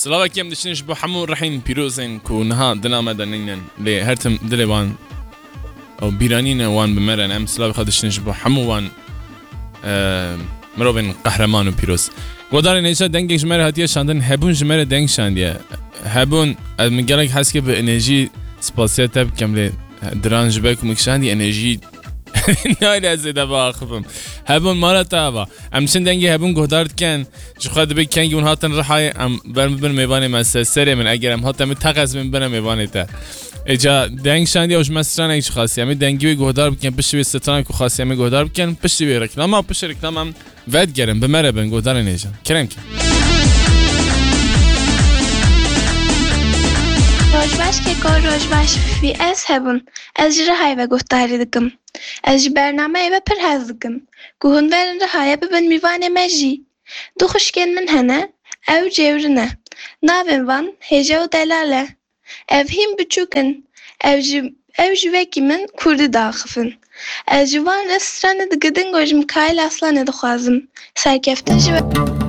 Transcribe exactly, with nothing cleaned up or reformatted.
Silavekî em diştin ji bo hemû rihên pîrozên ku niha dina me de nînin, lê her tim dilê wan û bîranîne wan bi me re ne. Em silavê xwe diştin ji bo hemû wan, e, mirovên qehreman û pîroz. Godarên hêja, dengek ji me re hatiye şandin. Hebûn ji me re deng şandiye. Hebûn, ez min gelek hez kir bi enerjî spasiya te bikim, lê diran ji ber ku min şandî enerjî nayê ez ê de biaxivim. Hebûn mala te ava. Em çin dengê Hebûn guhdar dikin. Ji xwe dibê kengî hûn hatin Rihayê, em ber min bin mêvanê me ser serê min. Eger em hatin min teqez bin bine mêvanê te. Êca deng şandiye û ji me stranek jî xastiye. Em ê dengî wê guhdar bikin, piştî wê stranek ku xastiye em ê guhdar bikin, piştî wê reklama, piştî reklama em vedigerin, bi me re bin, guhdarên hêja. Kerem ke. Roj baş Keko, roj baş Fîfî, ez Hebûn. Ez ji Rihayê ve guhdarî dikim. Ez ji bernameyê ve pir hez dikim. Ku hûn verin Rihayê bibin mîvanê me jî. Du xwişkên min hene, ew cêwrin e. Navên van Hêja û Delal e. Ev hîn biçûk in. Ew ji, ew ji wekî min kurdî diaxifin. Ez ji van re stranê digidin ku ji Mikaîl Aslanê dixwazim. Serkeftin ji we.